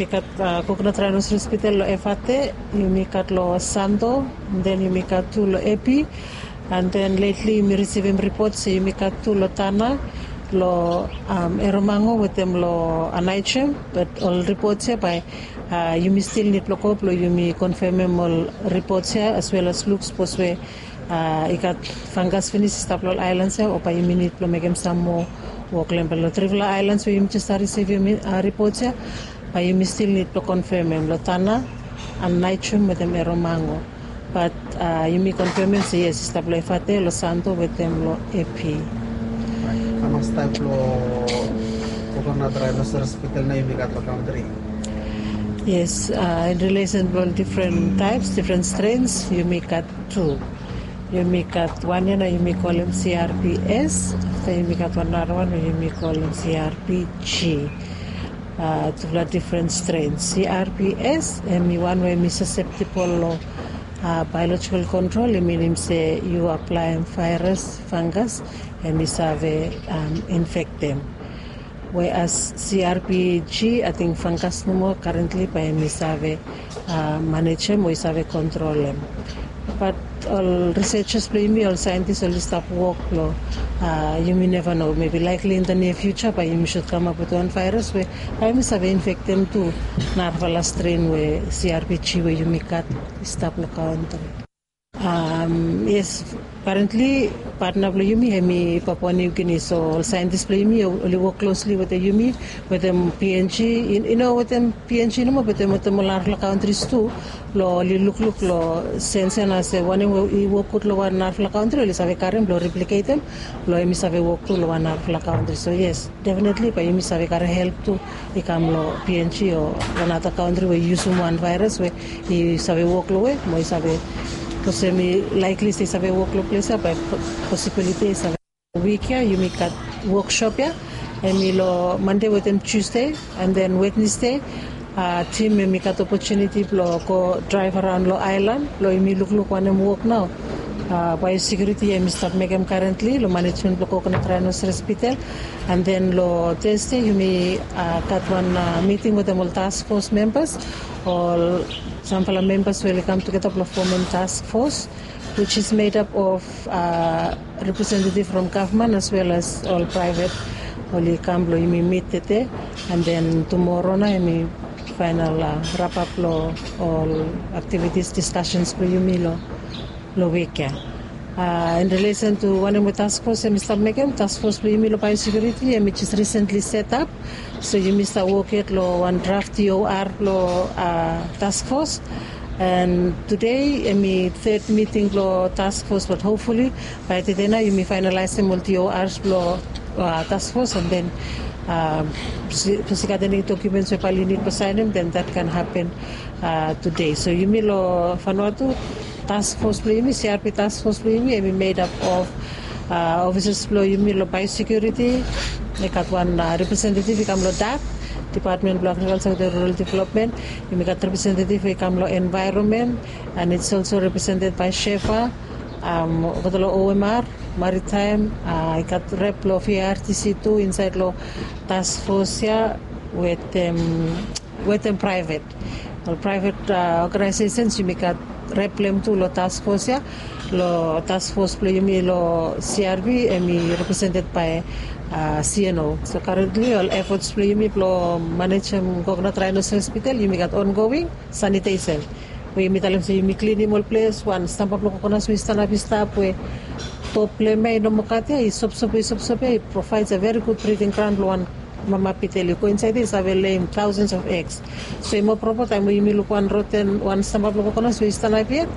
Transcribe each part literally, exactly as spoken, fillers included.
Yumi gat Coconut Rhinoceros Hospital lo Efate, yumi gat lo Santo, and then yumi gat tu lo Epi, and then lately yumi risivim ripot se yumi gat tu lo Tana, lo Eromango wetem lo Anaichem, but ol ripot ya bae yumi stil nid blo go blo yumi konfemem ol ripot ya as well as luk sapos we i gat fungus finis i stap lo ol aelans ya o bae yumi nid blo mekem sam moa wok lo hem. Bat lo trifala aelans we yumi jes save risivim ripot ya, bae yumi stil nid blo konfemem lo Tana, Anaichem wetem Eromango. Bat yumi konfemem se yes, i stap lo Efate, lo Santo wetem lo Epi. Hamas taep lo Coconut Rhinoceros Hospital nao yumi gat lo kantri? Yes, in relation lo difren taeps, difren strens, yumi gat tu. Yumi gat wan ya nao yumi kolem C R P S, afta yumi gat wan narawan we yumi kolem C R P G. Tufala difren stren. C R P S hemi wan we hemi susceptible lo biological kontrol, i minim se yu aplaem vaeras, fungus, hemi save infektem. Weas C R P G, ating fungus nomo karentli bae hemi save manejem o i save kontrolem. Bat ol researchers blo yumi, ol saentis oli stap wok lo, yumi neva no, mebi likely in the near future bae yumi should kamap wetem wan vaeras we bae hemi save infektem tu narafala stren we C R P G we yumi gat i stap lo kantri. Yes, karentli patna blo yumi hemi Papua New Guinea, so ol saentis blo yumi oli wok klosli wetem yumi, wetem P N G, i no wetem P N G nomo, wetem, wetem ol narafala kantris tu, blo oli lukluk lo sens ya nao se wanem we i wok gud lo wan narafala kantri oli save karem blo repliketem, blo hemi save wok tu lo wan narafala kantri. So yes, definitely bae yumi save karem help tu i kam lo P N G o wan nara kantri we i yusum wan vaeras we i save wok lo we mo i save, bikos hemi likely se i save wok lo ples ya, bae posibiliti i save. Wik ya yumi gat woksop ya, hemi lo Mande wetem Tusde, and then Wednesde tim hemi gat opotuniti blo go draev araon lo aelan blo yumi lukluk wanem wok nao biosekuriti hemi stap mekem karentli lo manejmen blo Coconut Rhinoceros Hospital. And then lo Thursday yumi gat wan miting wetem ol task force members, ol samfala members we oli kam tugeta blo fomem task force, which is made up of representative from government as well as ol private. Oli kam blo yumi mit tede, and then tumoro nao hemi faenal rapap lo ol activities, discussions blo yumi lo, lo wik ya. In relation to wanem we task force hemi stap mekem, task force blo yumi lo biosekuriti hemi jes recently set up. So yumi stap wok yet lo wan draft T O R blo task force. And today hemi third miting blo task force, but hopefully bae tede nao yumi faenalaesem ol T O Rs blo task force, and then sapos i gat eni dokumens we bae oli nid blo saenem, then that can happen today. So yumi lo Vanuatu task force blo yumi, C R P task force blo yumi, hemi made up of ofisas blo yumi lo biosekuriti. I gat wan representative i kam lo DARD, Department blo Agriculture wetem Rural Development. Yumi gat representative i kam lo environment, and it's also represented by SHEFA, olgeta lo O M R, maritime. I gat rep blo V R T C tu insaed lo task force ya, wetem, wetem private, ol private organizations, yumi gat rep blo hem tu lo task force ya. Lo task force blo yumi lo C R P hemi represented by C N O. So currently ol efforts blo yumi blo manejem Coconut Rhinoceros Hospital, yumi gat ongoing sanitation, we yumi talem se yumi klinim ol ples, wan stamba blo kokonas we i stanap i stap we top blo hem ya i no moa gat ya, i sopsop, i sopsop ya, i provides a very good breeding ground blo wan mama bitel. I go insaed ya i save lay thousands of eggs. So i moa propa taem we yumi luk wan roten, wan stamba blo kokonas we i stanap yet,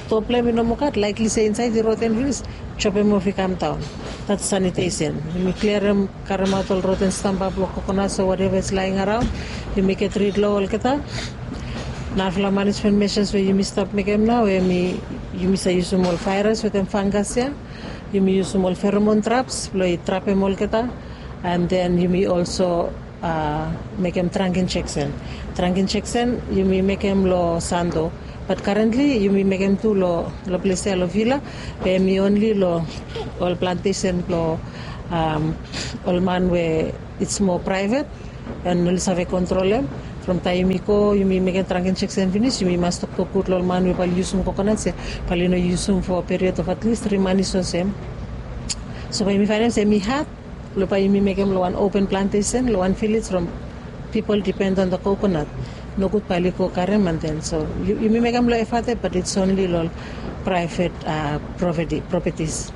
top blo hem i no moa gat, likely se insaed i roten finis, jobem of i kam daon. That's sanitation. Yumi kliarem, karemaot ol roten stamba blo kokonas o whatever is lying around. Yumi get rid lo olgeta. Narafala manejmen measures we yumi stap mekem nao hemi, yumi save yusum ol vaeras wetem fungus ya. Yumi yusum ol pheromone traps blo i trapem olgeta. And then yumi also mekem drunk injection. Drunk injection yumi mekem lo Santo. But currently yumi mekem tu lo, lo ples ya lo Vila, be hemi only lo ol plantation blo ol man we it's more private and oli save kontrolem. From taem yumi go yumi mekem tranken seksen finis yumi mas toktok gud long ol man we bae ol yusum kokonat se bae ol i no yusum fo period of at least tri manis olsem. So bae yumi faenem se mi hat long bae yumi mekem long wan open plantesen long wan vilej from pipol dipen on da kokonat. Nogud bae ol i go karim an den so yumi mekem long efate bat its onli long ol praevet propetis.